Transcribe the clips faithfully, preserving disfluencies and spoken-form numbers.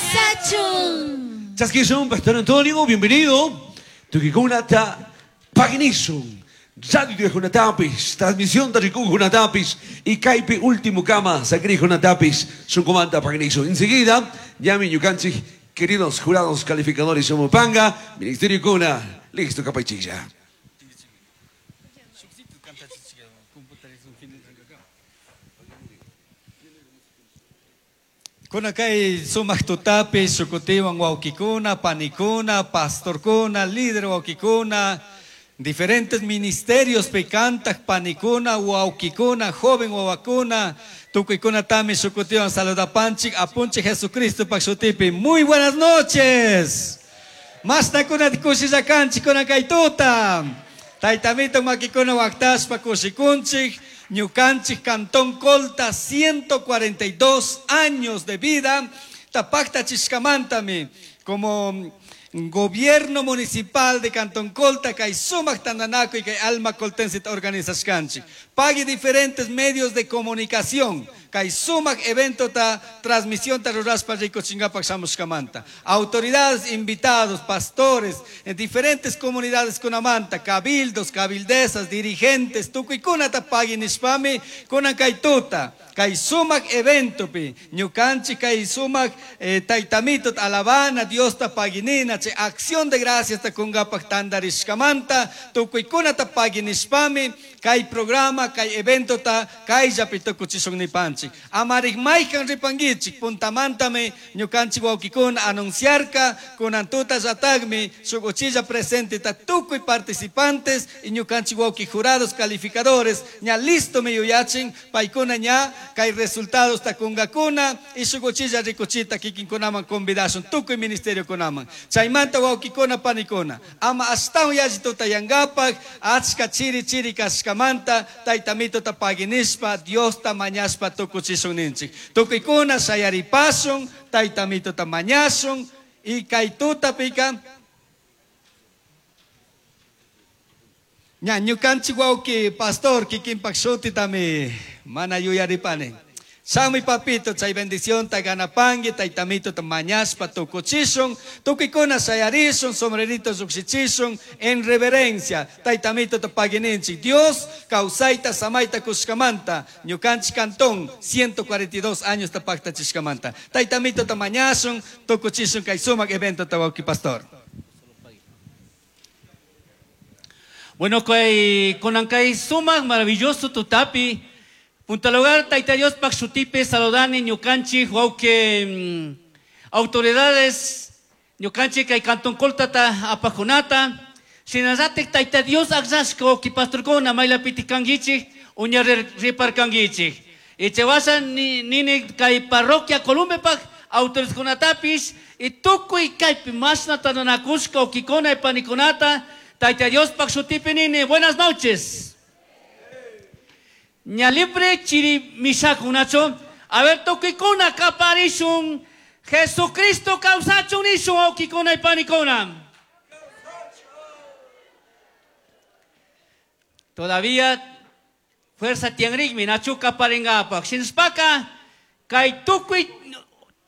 Causachun. Chaskishun, Pastor Antonio, bienvenido. Tukikunata paginishun. Radio de Junatapis, transmisión de Rikun Junatapis y Kaipi último kama, Sacri Junatapis, su comanda paginishun. Enseguida, Yami Ñukanchik, queridos jurados calificadores Somopanga, Ministerio Kuna, listo Kapaichilla. Kuna kay sumaq tutapi shukutiwan wawkikuna, panikuna, pastorkuna, líder wawkikuna, diferentes ministerios picantak panikuna, wawkikuna, joven wawakuna, tukuykuna tami shukutiwan saludapanchik, apunchik Jesucristo pak shutipi. Muy buenas noches. Mastakuna kushillakanchik kuna kay tuta. Taytamito makikuna waktashpa kushikunchik. Ñukanchik Cantón Colta, ciento cuarenta y dos años de vida. Tapakta chishkamantami, como gobierno municipal de Cantón Colta, kay sumak tandanakuy y kay alma coltense organizashkanchik. Pague diferentes medios de comunicación. Kay sumak evento ta transmisión ta ruraspa rico chingapak shamushkamanta. Autoridades, invitados, pastores, en diferentes comunidades kunamanta, cabildos, cabildesas, dirigentes, tukuykuna ta pagui nishpami, kunan kay tuta, kay sumak evento pi, ñukanchik kay sumak, eh, taytamito alabana, Dios ta paginina, che acción de gracias ta kungapak tandarishkamanta, tukuykuna ta pagui nishpami, kay programa, kay evento ta, kay llapito kuchishun nipanchik. Amarik maykan ripangichik, puntamantami, ñukanchik wawkikuna anunciarka, kunantuta yatagmi, shukuchilla presente ta tukuy participantes, y ñukanchik wawki jurados calificadores, ña listo mi yuyachin, paykuna ña, kay resultados ta kungakuna, y shukuchilla rikuchita kikinkunaman convidashun, tukuy ministerio kunaman. Chaymanta wawkikuna panikuna, ama astawan yallituta yangapak, achka chiri chiri kashkamanta, taytamito ta paginishpa, Dios ta mañashpa tukuchishun ninchik. Tukuykuna shayaripasun, taytamito ta mañashun, y kay tuta pika. Ña, ñukanchik wawki, pastor, kikinpak shuti tami, mana yuyaripani. Shamuy papito, chay bendición ta ganapangi, taytamito ta mañashpa tukuchishun, tukuykuna shayarishun, sombrerito llukshichishun, en reverencia, taytamito ta pagininchik. Dios, kawsayta, samayta kushkamanta, ñukanchik cantón, ciento cuarenta y dos años ta paktachishkamanta. Taytamito ta mañashun, tukuchishun, kay sumak evento ta wawki pastor. Bueno, kay, konankay sumak maravilloso tutapi. Punta lugar, Taita Dios, Paxutipe, Saludani, Ñucanchi, Huauque, mm, autoridades, Ñucanchi, Kay Cantón Coltata, Apajonata, Sinazate, Taita Dios, Axasco, Kipasturcona, Maila Piticanguichi, Uña Riparcanguichi. Echewasa, Nini, Kay Parroquia, Columbepac, autores Conatapis, y Tucu y Kaipi, Masna, Tananacusca, Oquicona, y Paniconata, Taita Dios, Paxutipe, Nini, buenas noches. Ña libre chiri mishakunacho. A ver, tokikuna kaparishun. Jesucristo causachun ishun okikuna y panikuna. Todavía fuerza tienrigmi nachu kaparingapa. Shinspaka kay tukuy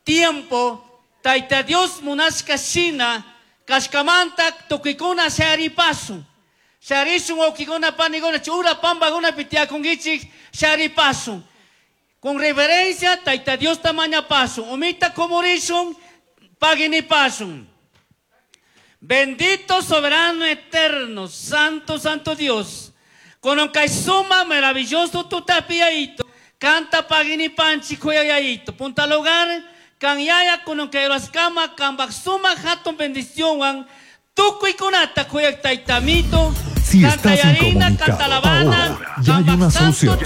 tiempo taita Dios munashka shina kashkamanta tokikuna sharipasun. Sharisun okikuna paniguna chura pambaguna pitiakungichik sharipasun. Con reverencia taita Dios tamaña pasun. Omita komorishun paginipasun. Bendito soberano eterno, santo, santo Dios. Con un suma maravilloso tu tapiaito. Canta paginipanchi kuyayaito. Punta lugar, kan yaya con un kama, kan suma jaton bendición wan. Tukuikunata kuyak taitamito. Si estás incomunicado, ahora ya hay una solución.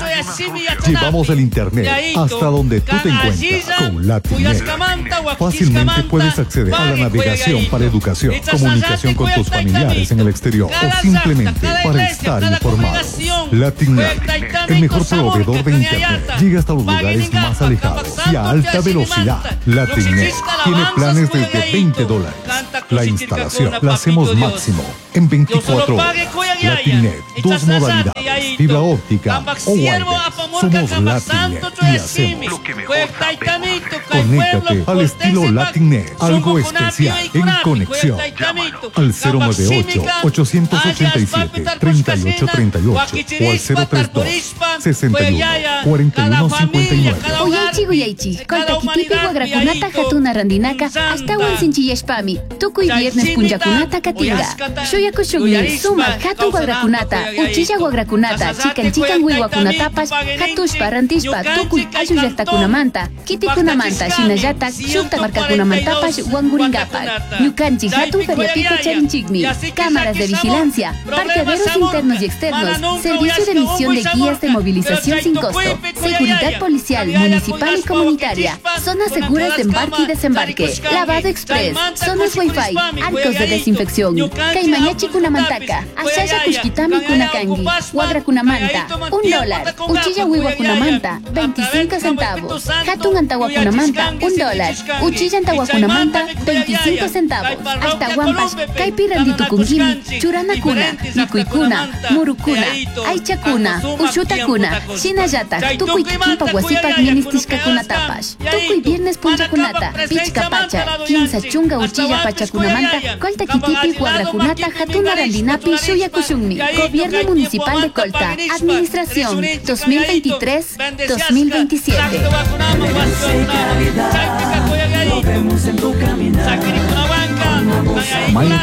Llevamos el internet hasta donde tú te encuentras con Latinet. Fácilmente puedes acceder a la navegación para educación, comunicación con tus familiares en el exterior o simplemente para estar informado. Latinet, el mejor proveedor de internet, llega hasta los lugares más alejados y a alta velocidad. Latinet tiene planes desde veinte dólares. La instalación la hacemos máximo en veinticuatro horas. Latinet, dos modalidades, fibra óptica o wireless. Somos Latinet y hacemos lo que mejor sabemos. Conéctate al estilo Latinx, algo especial en conexión. Al cero nueve ocho, ochocientos ochenta y siete, treinta y ocho treinta y ocho o al cero tres dos, sesenta y uno, cuarenta y uno, cincuenta y nueve. Uyaichi uyaichi, Colta kitipi wagrakunata hatuna randinaka ashtawan sinchiyashpami, tukuy viernes punllakunata katinga. Shuyakushunmi sumak hatun wagrakunata, uchilla wagrakunata, chikan chikan wiwakunatapash, hatushpa rantishpa tukuy ayllu llaqtakunamanta, kitikunamanta, shinallatak shukta markakunamantapash wanguringapak. Ñukanchik hatun feriapika charinchikmi, cámaras de vigilancia, parqueaderos internos y externos, servicio de emisión de guías de movilización sin costo, seguridad policial, municipal y comunitaria, zonas seguras de embarque y desembarque, lavado express, zonas wifi, arcos de desinfección, Caimañachi kunamantaka, Ashaya kushkitami kunakangi, Wagra kunamanta, un dólar, Uchilla wiwa kunamanta, veinticinco centavos, Hatun antawa kunamanta, un dólar, Uchilla antawa kunamanta, veinticinco centavos, hasta Guampas, Kaipi randitukunkimi, Churana kuna, Mikuikuna, Murukuna, Aichakuna, Ushutakuna, Shinayata, Tukuy kikinpa wasipak ministishkakunatapash, Tukuy viernes punchakunata, Pichka pacha, quince chunga uchilla pachakunamanta, Colta kitipi wagrakunata, hatuna randinapi shuyakushunmi. Gobierno Municipal de Colta, Administración dos mil veintitrés dos mil veintisiete. Mayo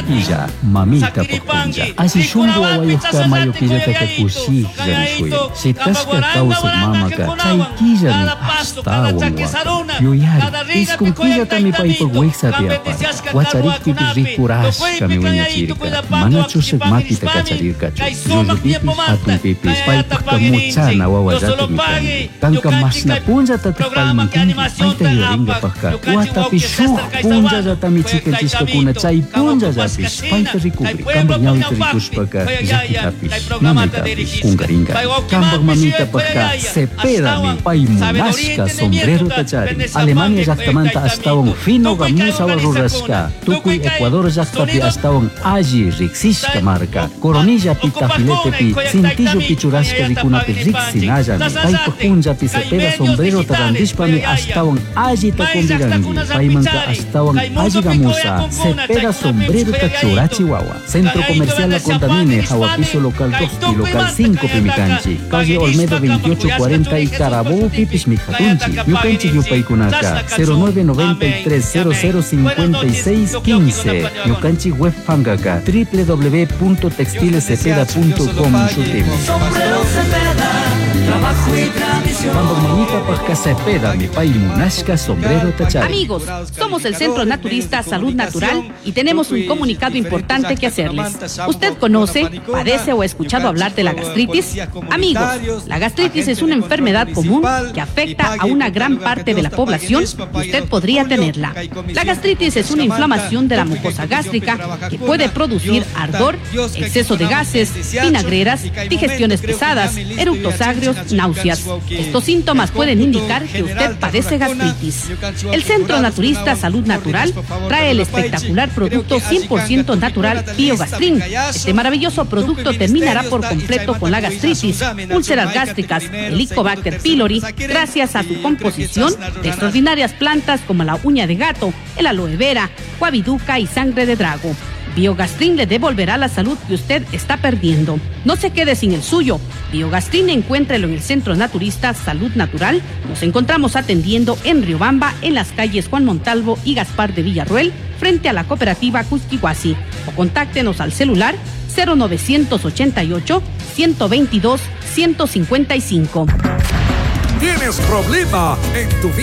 mamita pukpuncha. Así shungu awayuqta mayo quillataka kushiklla nishuya. Shitashka kawsaq mamaka chay quillami ashtawan waqan. Yuyari, iskun quillatami paypaq wiksapi aparqa. Wacharikpipis rikurashkami wiñachirqa. Mana chushaq makita kacharirqachu. Llullupipis hatunpipis paypaqta muchana wawallatami kanki. Kanka mashna punllatataq payman kanki. Payta yuyarinkapaqqa watapi shuk punllallatami chikanchishkakuna chay punllallapish payta rikukri. Kanpak ñawita rikushpaka llakitapish nanaytapish kunkarinka. Kanpak mamitapaqka Cepedami pay munashka sombrerota charin. Alemania llaqtamanta ashtawan fino gamusawa rurashka. Tukuy Ecuador llaqtapi ashtawan alli riqsishka marka. Coronillapi tafiletepi cintillopi churashka rikunapi riqsinallami. Paypaq punllapi Cepeda sombrerota rantishpami ashtawan allita conviranki. Paymanka ashtawan alli gamusa Cepeda sombrerota churachiwawa. Centro Comercial La Contamine, Jahuapiso local dos y local cinco Pimicanchi. Calle Olmedo veintiocho cuarenta y Carabobo Pipis Mijatunchi. Ñukanchik yupaykunaka cero nueve noventa y tres cero cero cincuenta y seis quince. Ñukanchik web pankaka doble u doble u doble u punto textiles cepeda punto com shutimi. Sombrero Cepeda, trabajo y tradición. Mamita Cepeda, mi pay munashka sombrero tachari. Amigos, somos el Centro Naturista Salud Natural y tenemos un comunicado importante que hacerles. ¿Usted conoce, padece o ha escuchado hablar de la gastritis? Amigos, la gastritis es una enfermedad común que afecta a una gran parte de la población y usted podría tenerla. La gastritis es una inflamación de la mucosa gástrica que puede producir ardor, exceso de gases, vinagreras, digestiones pesadas, eructos agrios, náuseas. Estos síntomas pueden indicar que usted padece gastritis. El Centro Naturista Salud Natural trae el espectacular producto cien por ciento natural Biogastrin. Este maravilloso producto terminará por completo con la gastritis, úlceras gástricas, Helicobacter pylori, gracias a su composición de extraordinarias plantas como la uña de gato, el aloe vera, guaviduca y sangre de drago. Biogastrin le devolverá la salud que usted está perdiendo. No se quede sin el suyo. Biogastrin, encuéntrelo en el Centro Naturista Salud Natural. Nos encontramos atendiendo en Riobamba, en las calles Juan Montalvo y Gaspar de Villarruel, frente a la cooperativa Cusquihuasi. O contáctenos al celular cero novecientos ochenta y ocho, ciento veintidós, ciento cincuenta y cinco. ¿Tienes problema en tu vida?